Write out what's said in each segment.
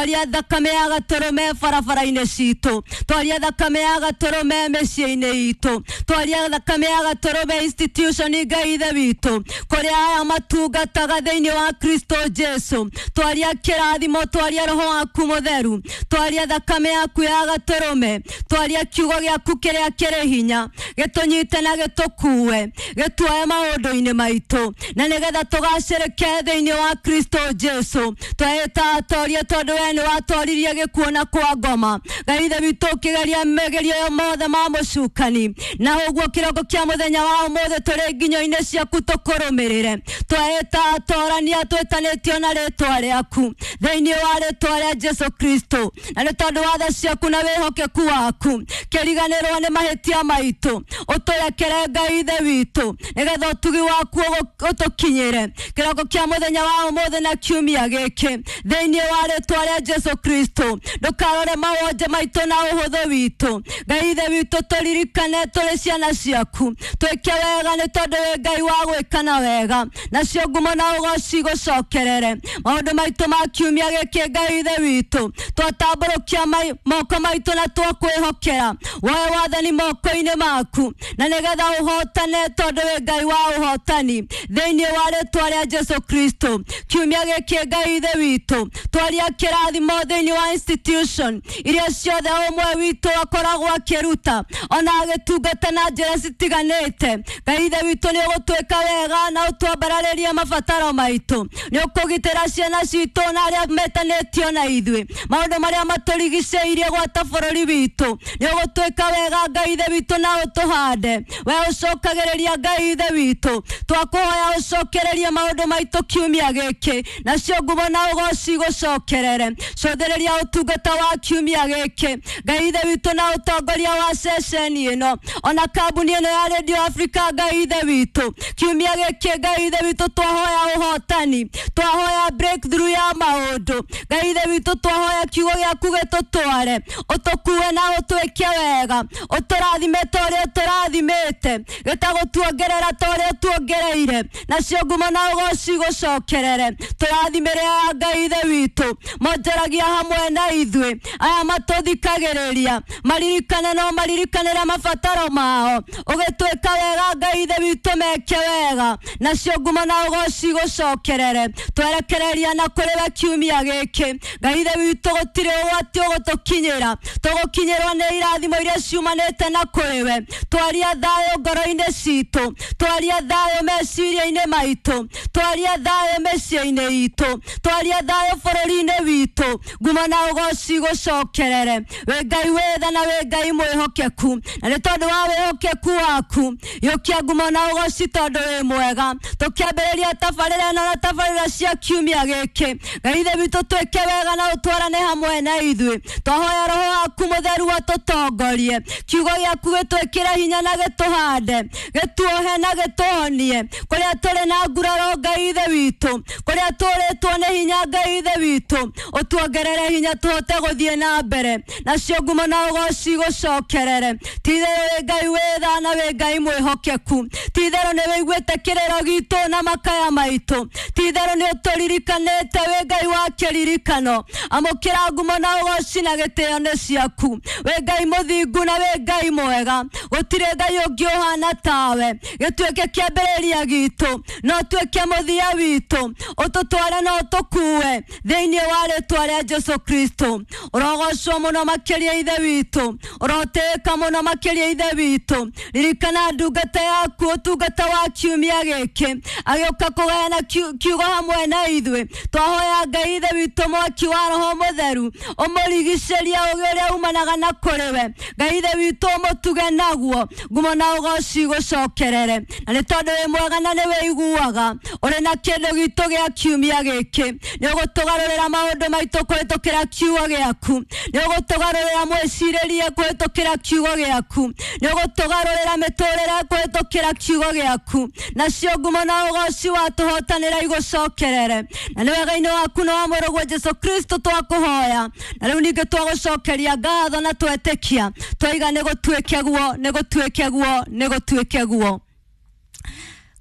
Twaria thakame ya gatũrũme barabara-inĩ citũ, twaria thakame ya gatũrũme mĩciĩ-inĩ itũ, twaria thakame ya gatũrũme institution Ngai Ithe witũ, kũrĩa aya matungataga thĩinĩ wa Kristo Jesu. Twaria kĩrathimo, twaria roho waku mũtheru, twaria thakame yaku ya gatũrũme, twaria kiugo gĩaku kĩrĩa kĩrĩ hinya, gĩtũnyite na gĩtũkue, gĩtuoe maũndũ-inĩ maitũ, na nĩgetha tũgacĩrĩke thĩinĩ wa Kristo Jesu. Twehĩta atorie tondũ we nĩ watoririe gĩkuũ na kwa ngoma. Ngai Ithe witũ, ũkĩgeria megerio yo mothe ma mũcukani, na ũguo kĩroko kĩa mũthenya wa ũmũthĩ tũrĩ nginyo-inĩ ciaku tũkũrũmĩrĩre. Twehĩta atorania twĩtanĩtio na rĩtwa rĩaku thĩinĩ wa rĩtwa rĩa Jesu Kristo, na nĩ tondũ wa tha ciaku na wĩhokeku waku, kĩriganĩrwo nĩ mahĩtia maitũ, ũtũrekere Ngai Ithe witũ, nĩgetha ũtugi waku ũtũkinyĩre kĩroko kĩa mũthenya wa ũmũthĩ na kiumia gĩkĩ thĩinĩ wa rĩtwa rĩa Jesu Kristo. Ndũkarore mawonje maitũ na ũhũthũ witũ, Ngai Ithe witũ, tũririkane tũrĩ ciana ciaku, twĩke wega nĩ tondũ wĩ Ngai wa gwĩkana wega, nacio ngumo na ũgoci gũcokerere maũndũ maitũ ma kiumia gĩkĩ. Ngai Ithe witũ, twatambũrũkia moko maitũ na twakwĩhokera woe wathani moko-inĩ maku, na nĩgetha ũhotane tondũ wĩ Ngai wa ũhotani thĩinĩ wa rĩtwa rĩa Jesu Kristo. Kiumia gĩkĩ, Ngai Ithe witũ, twaria kĩrathimo thĩinĩ wa institution iria ciothe ũmwe witũ akoragwo akĩruta ona agĩtungata na njĩra citiganĩte. Ngai Ithe witũ, nĩ ũgũtwĩka wega na ũtwambararĩrie mabataro maitũ, nĩ ũkũgitĩra ciana citũ na arĩa metanĩtio na ithuĩ, maũndũ marĩa matũrigicĩirie gwata bũrũri witũ. Nĩ ũgũtwĩka wega, Ngai Ithe witũ, na ũtũhande. We ũcokagĩrĩria, Ngai Ithe witũ, twakũhoya ũcokererie maũndũ maitũ kiumia gĩkĩ, nacio ngumo na ũgoci gũcokerere. Cũthĩrĩria ũtungata wa kiumia gĩkĩ, Ngai Ithe witũ, na ũtongoria wa ceceni ĩno ona kambuni ĩno ya Radio Africa. Ngai Ithe witũ, kiumia gĩkĩ, Ngai Ithe witũ, twahoya ũhotani, twahoya breakthrough ya maũndũ. Ngai Ithe witũ, twahoya kiugo gĩaku gĩtũtware, ũtũkue na ũtwĩke wega, ũtũrathime ta ũrĩa ũtũrathimĩte, gĩtagũtuongerera ta ũrĩa ũtuongereire, nacio ngumo na ũgoci gũcokerere. Tũrathimĩre aya, Ngai Ithe witũ, monjoragia hamwe na ithuĩ, aya matũthikagĩrĩria, maririkane no maririkanĩre mabataro mao. Ũgĩtwĩka wega, Ngai Ithe witũ, meke wega, nacio ngumo na ũgoci gũcokerere. Twerekereria na kũrĩ we kiumia gĩkĩ, Ngai Ithe witũ, gũtirĩ ũgwati ũgũtũkinyĩra, tũgũkinyĩrwo nĩ irathimo iria ciumanĩte na kũrĩ we. Twaria thayũ ngoro-inĩ citũ, twaria thayũ meciria-inĩ maitũ, twaria thayũ mĩciĩ-inĩ itũ, twaria thayũ bũrũri-inĩ witũ. Ngumo na ũgoci gũcokerere. Wĩ Ngai wĩ tha na wĩ Ngai mwĩhokeku, na nĩ tondũ wa wĩhokeku waku, yũkia ngumo na ũgoci tondũ wĩ mwega. Tũkĩambĩrĩria tabarĩra ĩno na tabarĩra cia kiumia gĩkĩ, Ngai Ithe witũ, twĩke wega na ũtwarane hamwe na ithuĩ. Twahoya roho waku mũtheru atũtongorie, kiugo gĩaku gĩtwĩkĩre hinya na gĩtũhande, gĩtuohe na gĩtũhonie kũrĩa tũrĩ na nguraro. Ngai Ithe witũ, kũrĩa tũrĩtwo nĩ hinya, Ngai Ithe witũ, ũtuongerere hinya tũhote gũthiĩ na mbere, nacio ngumo na ũgoci gũcokerere. Ti-itherũ wĩ Ngai wĩ tha na wĩ Ngai mwĩhokeku. Ti-itherũ nĩ wĩiguĩte kĩrĩro gitũ na makaya maitũ. Ti-itherũ nĩ ũtũririkanĩte, wĩ Ngai wa kĩririkano. Amũkĩra ngumo na ũgoci na gĩtĩo nĩ ciaku. Wĩ Ngai mũthingu na wĩ Ngai mwega, gũtirĩ Ngai ũngĩ ũhana tawe. Gĩtuĩke kĩambĩrĩria gitũ no tuĩke mũthia witũ, ũtũtware no ũtũkue thĩinĩ wa rĩtwa rĩa Jesu Kristo. Ũrogocwo mũno makĩria, Ithe witũ, ũrotĩĩka mũno makĩria, Ithe witũ. Ririkana ndungata yaku ũtungata wa kiumia gĩkĩ agĩũka kũgayana kiugo hamwe na ithuĩ. Twahoya, Ngai Ithe witũ, mwaki wa roho mũtheru ũmũrigicĩrie, ũgĩ ũrĩa umanaga na kũrĩ we, Ngai Ithe witũ, ũmũtuge naguo. Ngumo na ũgoci gũcokerere, na nĩ tondũ wĩ mwega na nĩ wĩiguaga ũrĩ na kĩndũ gitũ gĩa kiumia gĩkĩ. Nĩ ũgũtũgarũrĩra maũndũ maitũ kũhĩtũkĩra kiugo gĩaku, nĩ ũgũtũgarũrĩra mwĩcirĩrie kũhĩtũkĩra kiugo gĩaku, nĩ ũgũtũgarũrĩra mĩtũrĩre kũhĩtũkĩra kiugo gĩaku, nacio ngumo na ũgoci watũhotanĩra igũcokerere. Na nĩ wega-inĩ waku na wa mũrũguo Jesu Kristo twakũhoya, na rĩu ningĩ twagũcokeria ngatho na twetĩkia twaiga nĩ gũtuĩke guo, nĩ gũtuĩke guo, nĩ gũtuĩke guo.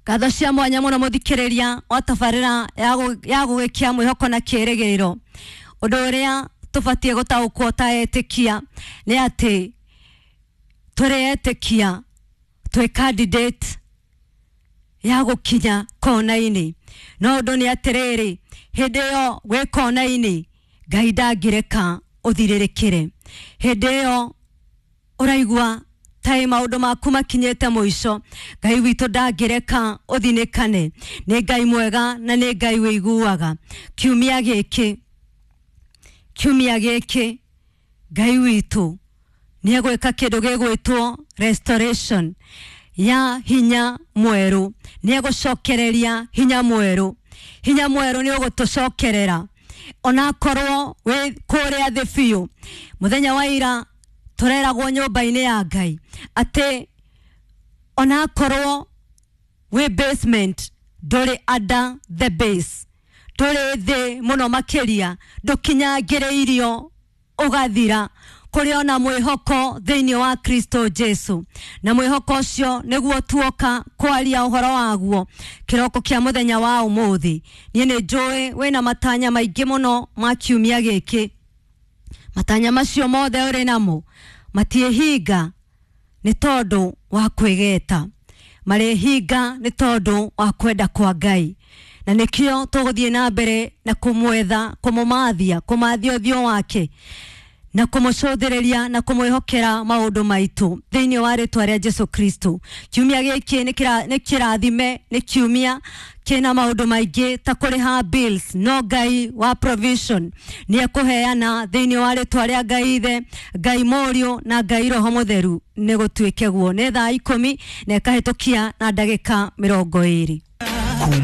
Ngatho cia mwanya mũno, mũthikĩrĩria wa tabarĩra ya gũgĩkia mwĩhoko na kĩĩrĩgĩrĩro. Ũndũ ũrĩa tũbatiĩ gũtaũkwo ta etĩkia nĩ atĩ tũrĩ etĩkia twĩ candidate ya gũkinya kona-inĩ. No ũndũ nĩ atĩrĩrĩ, hĩndĩ ĩyo wĩ kona-inĩ Ngai ndangĩreka ũthirĩrĩkĩre. Hĩndĩ ĩyo ũraigua taĩ maũndũ maku makinyĩte mũico, Ngai witũ ndangĩreka ũthinĩkane. Nĩ Ngai mwega na nĩ Ngai wĩiguaga. Kiumia gĩkĩ, kiumia gĩkĩ Ngai witũ nĩ egwĩka kĩndũ gĩgwĩtwo restoration ya hinya mwerũ. Nĩ egũcokereria hinya mwerũ. Hinya mwerũ nĩ ũgũtũcokerera onakorwo wĩ kũrĩa thĩ biũ. Mũthenya wa ira tũreragwo nyũmba-inĩ ya Ngai atĩ onakorwo wĩ basement ndũrĩ under the base, ndũrĩ thĩ mũno makĩria, ndũkinyangĩrĩirio ũgathira. Kũrĩ ona mwĩhoko thĩinĩ wa Kristo Jesu, na mwĩhoko ũcio nĩguo tuoka kwaria ũhoro waguo kĩroko kĩa mũthenya wa ũmũthĩ. Niĩ nĩ njũĩ wĩna matanya maingĩ mũno ma kiumia gĩkĩ. Matanya macio mothe ũrĩ namo matiĩhinga nĩ tondũ wa kwĩgeta, marĩhinga nĩ tondũ wa kwenda kwa Ngai. Na nĩkĩo tũgũthiĩ na mbere na kũmwetha, kũmũmathia, kũmathia ũthiũ wake na kũmũcũthĩrĩria na kũmwĩhokera maũndũ maitũ thĩinĩ wa rĩtwa rĩa Jesu Kristo. Kiumia gĩkĩ nĩ kĩrathime, nĩ kiumia kĩna maũndũ maingĩ ta kũrĩha bills, no Ngai wa provision nĩ ekũheana thĩinĩ wa rĩtwa rĩa Ngai Ithe, Ngai Mũriũ na Ngai Roho Mũtheru. Nĩ gũtuĩke guo. Nĩ thaa 10 na ĩkahĩtũkia na ndagĩka 20.